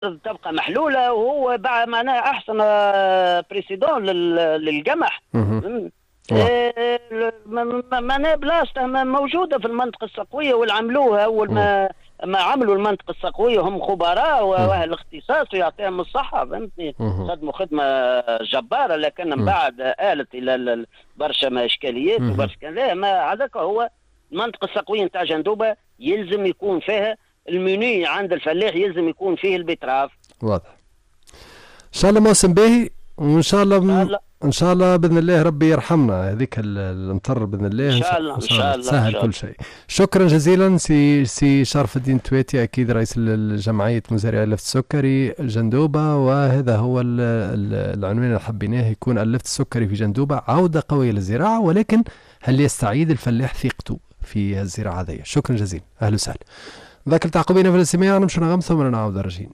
تبقى محلولة، وهو بعد معناها احسن précédent للقمح. معناها بلاصته موجودة في المنطقة السقويه، والعملوها اول ما عملوا المنطقة السقويه هم خبراء واهل اختصاص ويعطيهم الصحه، فهمتني، خدموا خدمة جباره، لكن من بعد آلت الى برشا ما اشكاليات وبرشا كذا. ما هذاك هو المنطقة السقويه نتاع جندوبه يلزم يكون فيها المنيو عند الفلاح، يلزم يكون فيه ال betterave. واضح. ان شاء الله موسم باهي، وان شاء الله ان شاء الله باذن الله ربي يرحمنا هذيك الامطار باذن الله. ان شاء الله. ان شاء الله تسهل كل شيء. شكرا جزيلا سي شرف الدين تويتي، اكيد رئيس الجمعية مزارعي اللفت السكري جندوبه. وهذا هو العنوان اللي حبيناه يكون، اللفت السكري في جندوبه عوده قوية للزراعه، ولكن هل يستعيد الفلاح ثقته في الزراعة هذه؟ شكرا جزيلا، اهلا وسهلا. ذاك التعقبين في الاستماع، نمشي نغم ثم نعود راجعين.